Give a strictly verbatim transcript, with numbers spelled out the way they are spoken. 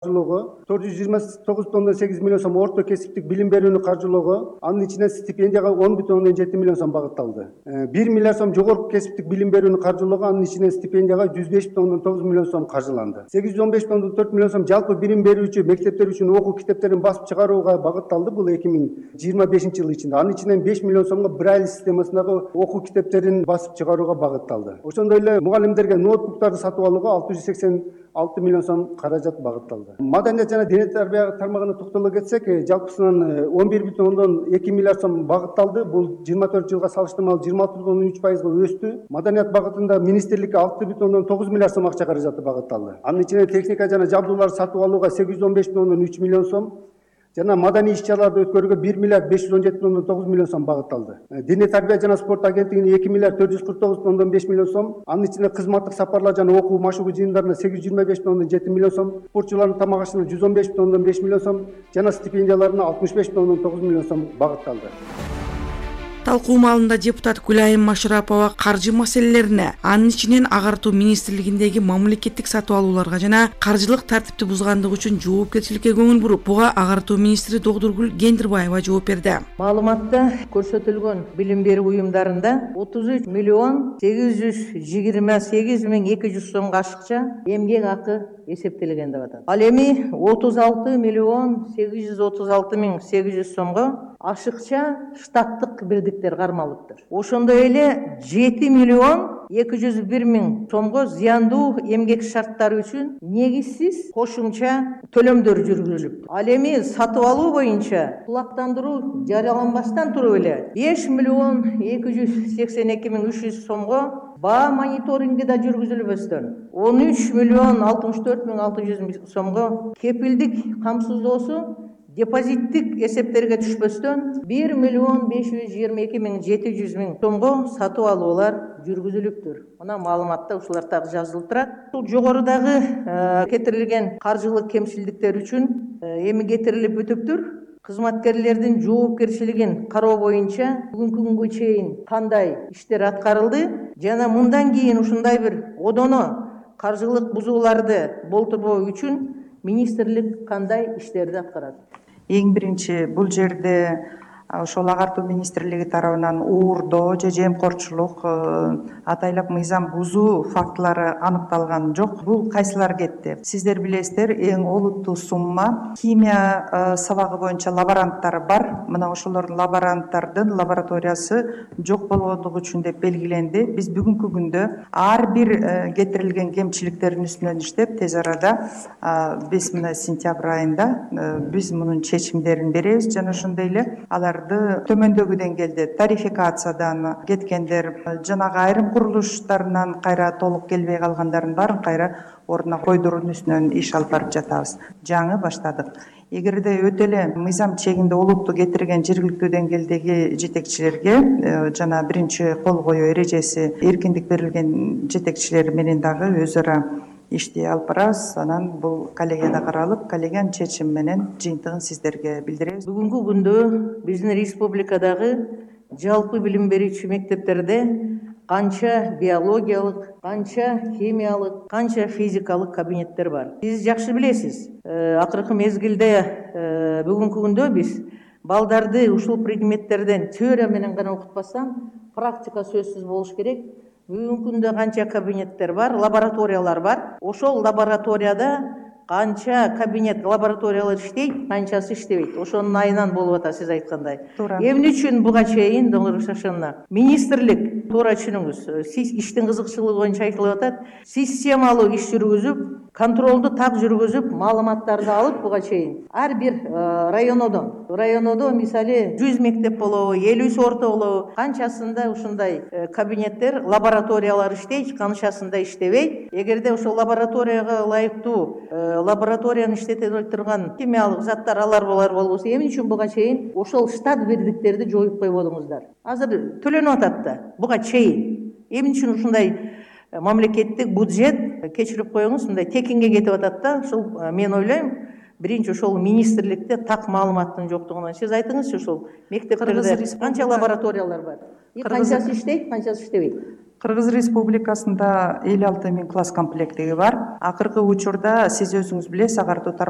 каржылоого, төрт жүз жыйырма тогуз бүтүн ондон сегиз миллион сом орто кесиптик билим берүүнү каржылоого, анын ичинен стипендияга он бүтүн ондон жети миллион сом багытталды. бир миллиард сом жогорку кесиптик билим берүүнү каржылоого, анын ичинен стипендияга жүз беш бүтүн ондон тогуз миллион сом каржыланды. сегиз жүз он беш бүтүн ондон төрт миллион сом жалпы билим берүүчү мектептер үчүн окуу китептерин басып чыгарууга багытталды. Бул эки миң жыйырма бешинчи жыл ичинде. Анын ичинен беш миллион сомго Брайль системасындагы окуу китептерин басып чыгарууга багытталды. Ошондой эле мугалимдерге ноутбуктарды сатып алууга алты жүз сексен алты миллион сом каражат багытталды. Маданият жана дене тарбия тармагына токтоло кетсек, жалпысынан он бир бүтүн ондон эки миллиард сом багытталды. Бул жыйырма төрт жылга салыштырмалуу жыйырма алты бүтүн ондон үч пайызга өстү. Маданият багытында министрликке алты бүтүн ондон тогуз миллиард сом акча каражаты багытталды. Анын ичинен техника жана жабдууларды сатып алууга сегиз жүз он беш бүтүн ондон үч миллион сом жана маданий иш-чараларды өткөрүүгө бир миллиард беш жүз он жети бүтүн ондон тогуз миллион сом багытталды. Дене тарбия жана спорт агенттигине эки миллиард төрт жүз кырк тогуз бүтүн ондон беш миллион сом, анын ичинде кызматтык сапарлар жана окуу машыгуу жыйындарына сегиз жүз жыйырма беш бүтүн ондон жети миллион сом, спортчулардын тамак ашына жүз он беш бүтүн ондон беш миллион сом жана стипендияларына алтымыш беш бүтүн ондон тогуз миллион сом багытталды. Талкуу маалында депутат Гүлайым Машарапова каржы маселелерине, анын ичинен агартуу министрлигиндеги мамлекеттик сатып алууларга жана каржылык тартипти бузгандыгы үчүн жоопкерчиликке көңүл буруп, буга агартуу министри Догдургүл Кендирбаева жооп берди. Маалыматта көрсөтүлгөн билим берүү уюмдарында отуз үч миллион сегиз жүз жыйырма сегиз миң эки жүз сомго ашыкча эмгек акы эсептелген деп атат. Ал эми отуз алты миллион сегиз жүз отуз алты миң сегиз жүз сомго ашыкча штаттык бирдиктер кармалыптыр. Ошондой эле жети миллион эки жүз бир миң сомго зыяндуу эмгек шарттары үчүн негизсиз кошумча төлөмдөр жүргүзүлүп. Ал эми сатып алуу боюнча кулактандыруу жарыяланбастан туруп эле беш миллион эки жүз сексен эки миң үч жүз сомго баа мониторинги да жүргүзүлбөстөн он үч миллион алтымыш төрт миң алты жүз сомго кепилдик камсыздоосу депозиттик эсептерге түшпөстөн бир миллион беш жүз жыйырма эки миң жети жүз миң сомго сатып алуулар жүргүзүлүптүр. Мына маалыматта ушулар так жазылып турат. Бул жогорудагы кетирилген каржылык кемчилдиктер үчүн эми кетирилип бүтүптүр. Кызматкерлердин жоопкерчилигин кароо боюнча бүгүнкү күнгө чейин кандай иштер аткарылды жана мындан кийин ушундай бир одоно каржылык бузууларды болтурбоо үчүн министрлик кандай иштерди аткарат? Эң биринчи бул жерде ошол агартуу министрлиги тарабынан уурдоо же жемкорчулук, атайлап мыйзам бузуу фактылары аныкталган жок. Бул кайсылар кетти? Сиздер билесиздер, эң олуттуу сумма химия сабагы боюнча лаборанттар бар. Мына ошолордун лаборанттардын лабораториясы жок болгондугу үчүн деп белгиленди. Биз бүгүнкү күндө ар бир кетирилген кемчиликтердин үстүнөн иштеп, тез арада беш мына сентябрь айында биз мунун чечимдерин беребиз жана ошондой эле алар төмөндөгү деңгээлде тарификациядан кеткендер, жанагы айрым курулуштарынан кайра толук келбей калгандардын баарын кайра ордуна койдуруунун үстүнөн иш алып барып жатабыз. Жаңы баштадык. Эгерде өтө эле мыйзам чегинде олуттуу кетирген жергиликтүү деңгээлдеги жетекчилерге жана биринчи кол коюу эрежеси эркиндик берилген жетекчилер менен дагы өз ара ишти алып барабыз. Анан бул коллегияда каралып, коллегиянын чечими менен жыйынтыгын сиздерге билдиребиз. Бүгүнкү күндө биздин республикадагы жалпы билим берүүчү мектептерде канча биологиялык, канча химиялык, канча физикалык кабинеттер бар. Сиз жакшы билесиз. Акыркы мезгилде бүгүнкү күндө биз балдарды ушул предметтерден теория менен гана окутпастан практика сөзсүз болуш керек. Бүгүнкү күндө канча кабинеттер бар, лабораториялар бар. Ошол лабораторияда канча кабинет лабораториялар иштейт, канчасы иштебейт. Ошонун айынан болуп атат, сиз айткандай. Эмне үчүн буга чейин совершенно министрлик, туура түшүнүңүз, сиз иштин кызыкчылыгы боюнча айтылып атат, системалуу иш жүргүзүп, контролду так жүргүзүп, маалыматтарды алып буга чейин ар бир районодон, районодо мисалы жүз мектеп болобу, элүүсү орто болобу, канчасында ушундай кабинеттер, лабораториялар иштейт, канчасында иштебейт. Эгерде ошол лабораторияга ылайыктуу лабораторияны иштете турган химиялык заттар алар болар болбосо, эмне үчүн буга чейин ошол штат бирдиктерди жоюп койбодуңуздар? Азыр төлөнүп атат да буга чейин. Эмне үчүн ушундай мамлекеттик бюджет кечирип коюңуз, мындай текинге кетип атат да? Ошол мен ойлойм, биринчи ошол министрликте так маалыматтын жоктугунан. Сиз айтыңызчы, ошол мектептерде канча лабораториялар бар? Канчасы иштейт, канчасы иштебейт? Кыргыз Республикасында элүү алты миң класс комплекттиги бар. Акыркы учурда сиз өзүңүз билесиз, агартуу тармагы